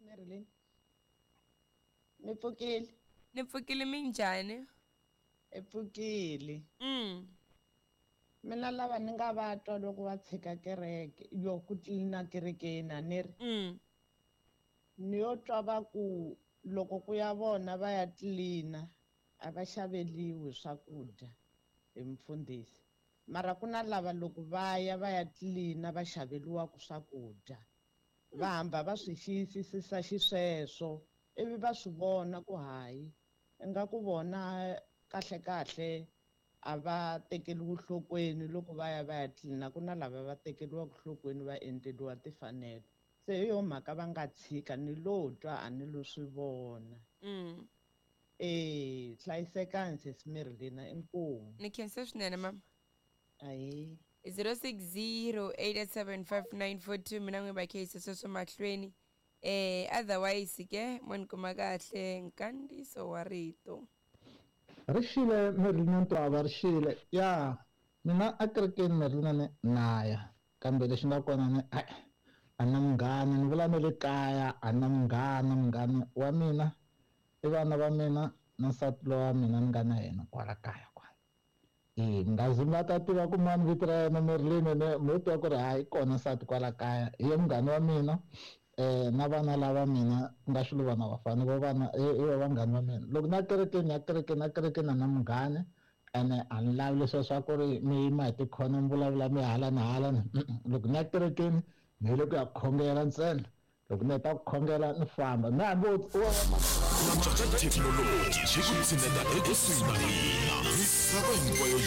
Marilyn. Mi pfukile? Ni pfukile minjhani? I pfukile. Mina lava ni nga va twa loko va tshika kereke yo ku tlilina kerekeni a ni ri. Ni yo twa va ku loko ku ya vona va ya tlilina a va xaveliwi swakudya hi mfundhisi. Mara ku na lava loko va ya va ya tlilina va xaveliwaka swakudya. Va hamba va swi xiyisisisa xisweswo ivi va swi vona ku hayi ingaku vona kahle kahle a va tekeriwi nhlokweni loko va ya va ya tlilina ku na lava va tekeriwaka nhlokweni va endleriwa timfanelo. Se hi yo mhaka va nga tshika ni lo twa a ni lo swi vona. Hlayisekani sesi Marilyn, inkomu. Ni khensa swinene mama. Ahee. 0608875942 mina n'wi va kheyisa sweswo mahlweni. Otherwise ke mo ni kuma kahle nkandziso wa rito. Ri xile Marilyn Ntwava ri xile. Ya mina a kerekeni Marilyn ni naya kambe lexi nga kona ni a na munghana ni vula na le kaya a na munghana munghana wa mina i vana va mina na nsati lowa mina ni nga na yena kwala kaya kwala. Nga zi nga ta tiva ku mani vito ra yena Marilyn ne mo twa ku ri hayi kona nsati kwala kaya hi ye munghana wa mina na vana lava mina ku nga swilo vana vafana vo vana i va vanghana va mina. Loko na kerekeni ya kerekeni na kerekeni na munghana ene a ni lavi leswiya swa ku ri mi yima hi tikhona mi vulavula mi hala na hala na loko ni ya kerekeni ni yile ku ya khongela ntsena. Loko ni heta ku khongela ni famba mi hambi wo Thekinoloji yi ku tshineta ekusuhi na hina misava hinkwayo.